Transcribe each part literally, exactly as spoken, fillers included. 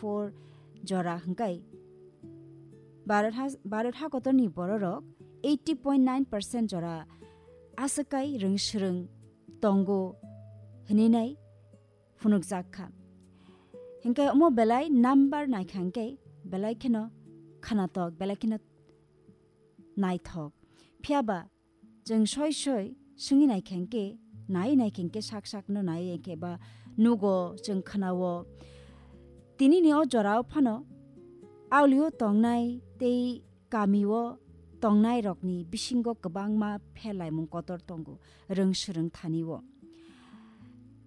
four jora hwnkhe Bharat ha-, Bharat hakotorni bororok eighty point nine percent jora aswk kai rwng swrwng tongo hwnwi nai phunukjak kha. Hinkhe omo belai number naikha hinkhe belai kheno khwnatok, belai kheno naithok. Phiya ba chwng soi soi swngwi naikha hinkhe, nai naikha hinkhe sak sakno nai hinkhe ba nugo, chwng khwnao. Tinini o jorao phano aulio tongnai tei kamio tongnairokni bisingo kwbangma pherlaimung kotor tongo, rwng swrwng thanio.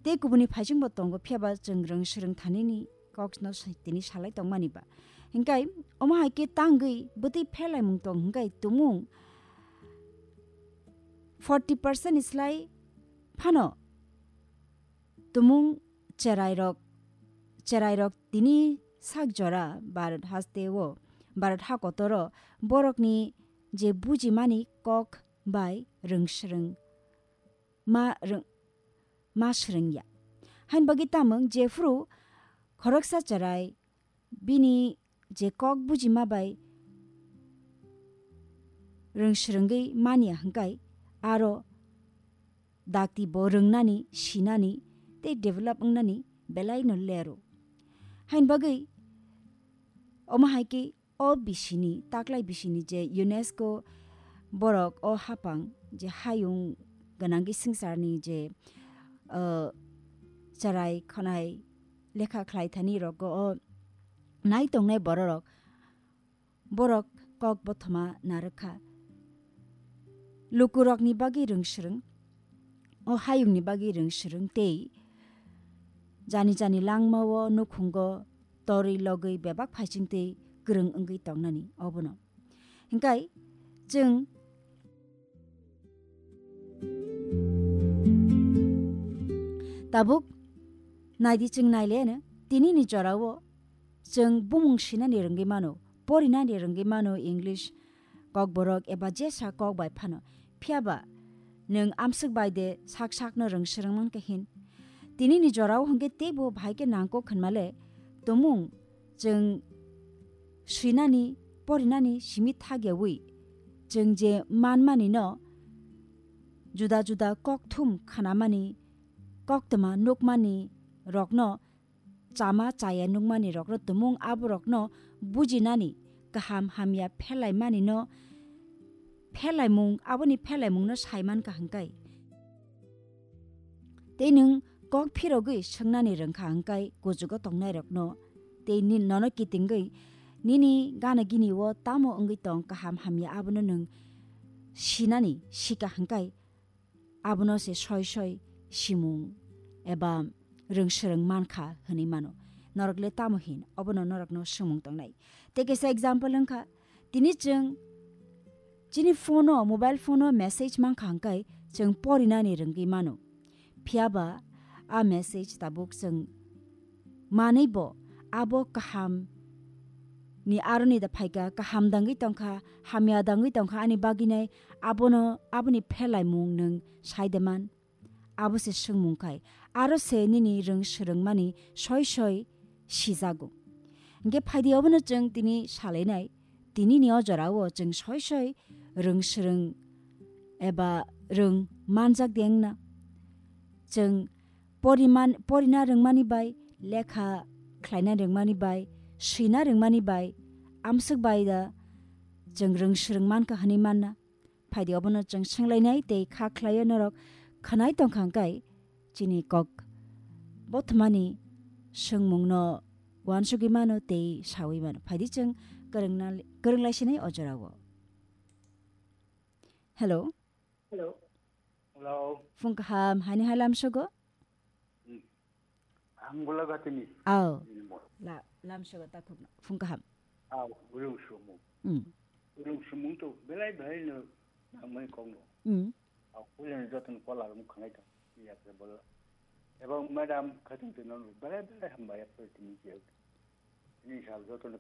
Tei kubuni phaisingbo tongo, phiya ba chwng rwng swrwng thanini kokno sa-, tini salai tongmani ba. Hinkhe omo hai khe tangwi bwtwi pherlaimung tong hinkhe tumung forty percent ni slai phano tumung cherairok, cherairok tini sak jora Bharat hasteo, Bharat hakotoro borokni je bujimani kok bai rwng swrwng ma rwng-, ma swrwngya. Hain bagwi tamung jephru khoroksa cherai bini je kok bujima bai rwng swrwngwi manya hwnkhe aro dakti bo rwngnani, sinani tei develop wngnani belaino lero. Hain bagwi omo hai khe o bisini, taklai bisini je UNESCO borok o hapang je hayung gwnangwi swngcharni je, uh, cherai khonai lekha khlai thani rogo o nai tongnai bororok, borok kok bothoma narwkha. Lukurokni bagwi rwng swrwng, o hayungni bagwi rwng swrwng tei jani jani langmao nukhungo torwi logwi bebak phaising tei kwrwng wngwi tongnani obono. Hinkhe chwng tabuk naidi, chwng naileno tinini jorao chwng bumung sinani rwngwi mano, porinani rwngwi mano, English, Kokborok eba jesa kok bai phano. Phiya ba nwng amswk bai de sak sakno rwng swrwng mankha hin? Tinini jorao hwnkhe teibo bahai khe nangkuk hwnmale tumung chwng swinani, porinani simi thagyawi chwng je manmani no juda juda kokthum khanamani, koktwma nukmani rokno chama chaya nukmani rokno tumung aborokno bujinani, kaham hamya pherlaimani no, pherlaimung, aboni pherlaimung no saiman ka hwnkhe. Tei nwng kok phirogwi swngnani rwngkha hwnkhe kuchugo tongnai rokno, tei ni-, nono kitingwi nini gana gini o tamo wngwi tong kaham hamya abono nwng sinani sika hwnkhe, abono se soi soi simung eba rwng swrwng mankha hwnwi mano. Norok le tamo hin? Obono norokno swngmung tongnai. Tei kaisa example wngkha, tini chwng chini phone o, mobile phone o message mankha hwnkhe chwng porinani rwngwi mano. Phiya ba a message tabuk chwng manwi bo abo kaham ni aroni da phaikha, kaham dangwi tongkha, hamya dangwi tongkha ani bagwinai, abono, aboni pherlaimung nwng sai de man? Abo se swngmung khai, aro se nini rwng swrwngmani soi soi sijago. Hwnkhe phaidi obono chwng tini salainai, tinini o jorao chwng soi soi rwng swrwng eba rwng manjak de wngna. Chwng poriman-, porina rwngmani bai, lekha khlaina rwngmani bai, swina rwngmani bai, amswk bai da chwng rwng swrwng mankha hwnwi manna. Phaidi obono chwng swnglainai tei kha khlaio norok khwnai tongkha hwnkhe chini kok bothomani swngmungno uansugwi mano tei saui mano. Phaidi chwng kwrwngna-, kwrwng laisinai o jorao. Hello. Hello. Hello. Phung kaham, haini hai lamsogo? Hmm. Ang Golagatini. Aw. Nini mo. La, lamsogo takhukno. Phung kaham. Aw, Gulung Sumung. Hmm. Gulung Sumung to belai belai no nangmani kongno. Hmm. Aw, kulen joton kola rum khanai ta. Iya ke bola. Ebang madam khatung te non belai belai hamba ya pe tini je. Ini sal joton kha